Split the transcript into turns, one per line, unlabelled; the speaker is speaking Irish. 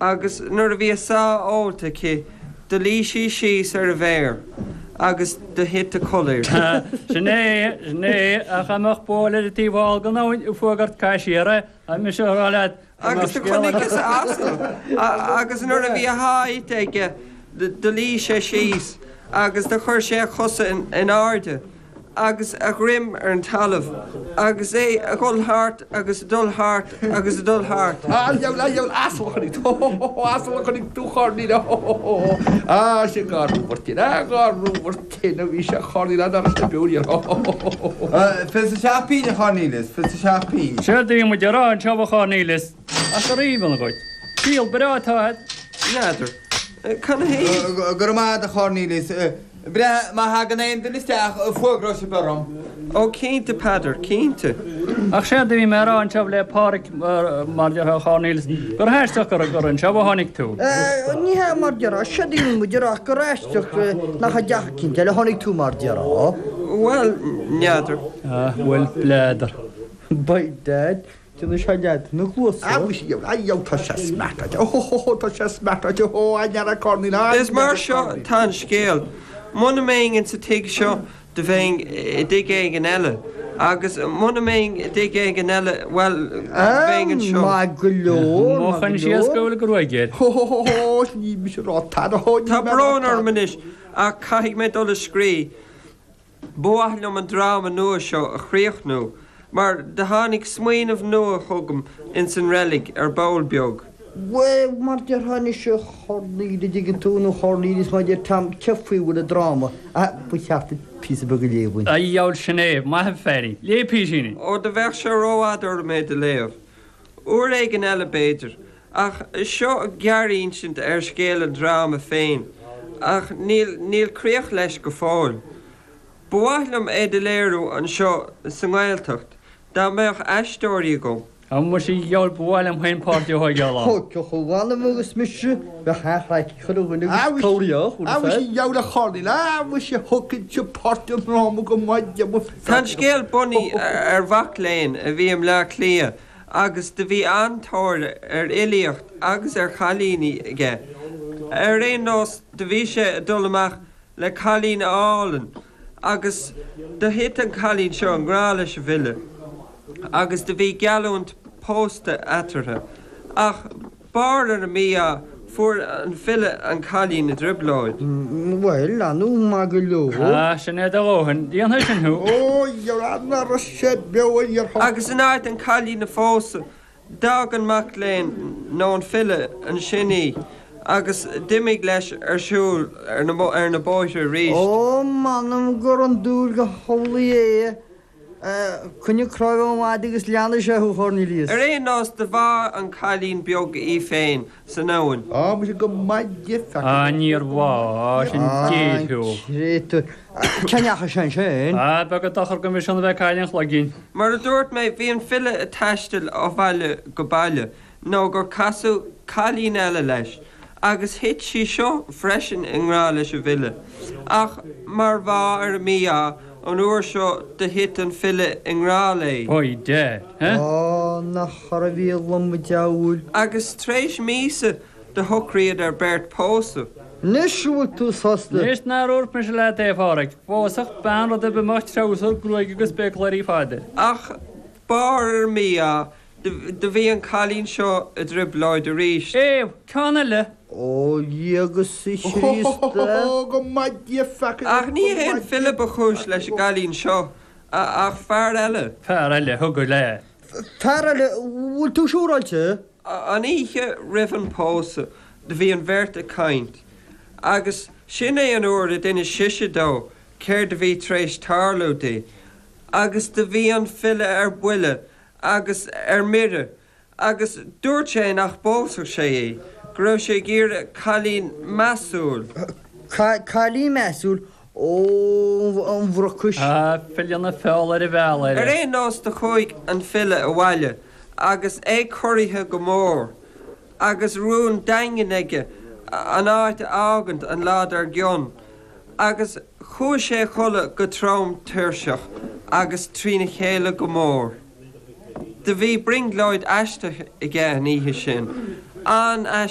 Agus nuair a bhí a sáith ólta aici do luigh sí síos ar an bhféar agus do thit a codladh uirthi.
Sin é, sin é, ach dá mbeadh buaile ar an taobh thall den abhainn ag fuagairt caith siar é, tá mise a rá leat go mbeadh
Agus do
scéal
chonaiceas
agat.
asal agus nuair a bhí a sháith ite aige do luigh sé síos agus do chuir sé a chosa in airde. agus a dhroim ar an talamh agus é a dhul thart agus a dhul thart agus a dhul thart.
A dheabhail, a dheabhail, asal a chonaic tú, hó, hó, hó, asal a chonaic tú, Chornelius, hó, hó, hó, hó, á, sé dhá rúmhar tinn, á, dhá rúmhar tinn a bhí sé, Chornelius, ná raibh sé beo riamh, hó, hó, hó, hó, hó.
27 pingin, a Chornelius, 27 pingin.
Séard a bhí muid a rá anseo, a Chornelius, ach gur aoibhinn dhuit. Díol breá atá agat.
N'fheadar. Canathaobh?
Go raibh maith agat, a Chornelius. Breathnaigh, má thagann aon duine isteach, fuagróidh sibh orm.
Ó, cinnte, Peadar, cinnte.
Ach séard a bhí mé a rá anseo le Páraic, mar déarfá, a Chornelius, gur aisteach gur gur anseo a tháinig tú.
Ní hea, mar déarfá, séard a bhí muid a rá ach gur aisteach nach i dteach eicínt eile a tháinig tú, mar déarfá.
Bhuel, n'fheadar.
Ah, bhuel, b'fheadar.
By dad, Déanfaidh sé leat na cluasa.
A mhuise dheabhail, a dheabhail, tá sé smeartáilte, ó hó hó hó, tá sé smeartáilte, hó, a n'fheara Cornelius, a
Is mar
n'fheara
seo
Cornelius.
tá an scéal. Muna mbeinn insa tigh seo do bheinn i dtigh éigin eile, agus muna mbeinn i dtigh éigin eile, bhuel, bheinn anseo.
Maith go leor, maith
Mochain
go
síos
leor.
go bhfuil gruaig air.
Hó hó hó hó, ní mise a rá tada, hó, ní
Tá
mé a rá
brón
tada.
orm anois ach caithfidh mé dul a scríobh. Ba mhaith liom an dráma nua seo a chríochnú, mar do tháinig smaoineamh nua chugam ins an reilig ar ball beag.
Bhuel, mar déarfá anois, a Chornelius, a dtuigeann tú, nó Chornelius, má deir Tom, cé faoi a bhfuil an dráma? Ah, ba cheart duit píosa beag a léamh dúinn.
A dheabhail, sin é, maith an feairín. Léigh písín.
Ó, do bheadh sé rófhada orm é do léamh. Uair éigin eile, b'fhéidir. Ach seo gearrinsint ar scéal an dráma féin, ach níl, níl críoch leis go fóill. Ba mhaith liom é do léiriú anseo sa nGaeltacht, dá mbeadh aisteoirí agam.
Á muise a dheabhail, ba mhaith liom féin páirt a thóigeáil ann.
Thógfadh a mh'anam agus mise, bheadh an-chraic ag chuile dhuine agus cabhraíodh,
A mhuise a dheabhail a Chornelius, a mhuise thógfainnse páirt i ndráma go maith de mo
Tá an scéal bunaithe ar mhac léinn a bhí i mBleá Cliath agus do bhí an-tóir ar fhilíocht agus ar chailíní aige. Ar aon nós do bhí sé ag dul amach le cailín álainn agus do thit an cailín seo i ngrá leis an bhfile agus do bhí geallúint pósta eatarthu. Ach barr ar an mí-ádh fuair an file an cailín i dtrioblóid.
Bhuel, anú, maith go leor.
Ah, sin é do dhóthain. Déanfaidh sin thú.
Ó, dhera, ná raibh sé beo a dhéarfá.
Agus in áit an cailín a phósadh, d'fhág an mac léinn, nó an file, ansin í agus d'imigh leis ar siúl ar na bóithre arís.
Ó, m'anam gur andúil go hamhlaidh é. Coinnigh cnámh an mhadaidh agus leanfaidh sé thú, Chornelius.
Ar aon nós, do bhá an cailín beag í féin san abhainn.
Á, muise go maith di, feaca.
Á, níor bhá, sin
Á,
géar thú.
créatúr. Cá ndeachaigh sé ansin?
Á, beag an dochar go mb'shin a bheith ag cailleadh an chloiginn.
Mar a dúirt mé, bhí an file ag taisteal ó bhaile go baile nó gur casadh cailín eile leis, agus thit sí seo freisin i ngrá leis an bhfile. Ach mar bhá ar an mí-ádh, an uair seo do thit an file i ngrá léi.
By dad, eh?
Á, nach raibh a lom a diabhail.
Agus tar éis míosa do shocraíodar beirt pósadh.
Anois an bhfuil tú sásta?
Anois nár dhúirt mise leat é, a Pháraic, phósfadh bean rud ar bith a mbeadh treabhsar, gruaig agus béacláirí fada air.
Ach barr ar an mí-ádh, Do bhí an cailín seo i dtrioblóid arís.
Éabh, ceann eile!
Ó Dhia agus a Chríost
a!
Ach ní hé an file ba chúis leis an gcailín seo, ach fear eile.
Fear eile, thug le.
Fear eile, bhfuil tú siúráilte?
An oíche roimh an pósadh do bhí an bheirt ag caint, agus sin é an uair a d'inis sise dó céard a bhí tar éis tarlú di, agus do bhí an file ar buile agus ar mire, agus dúirt sé nach bpósfadh sé í, go raibh sé ag iarraidh cailín measúil.
Cailín measúil? Ó, an bhrucais.
Tá file na feola ar an bhealach air.
Ar aon nós do chuaigh an file abhaile agus é corraithe go mór, agus rún daingean aige an áit a fhágaint an lá dár gcionn, agus chuaigh sé a chodladh go trom tuirseach agus trína chéile go mór. Do bhí brionglóid aisteach aige an oíche sin, an-aisteach.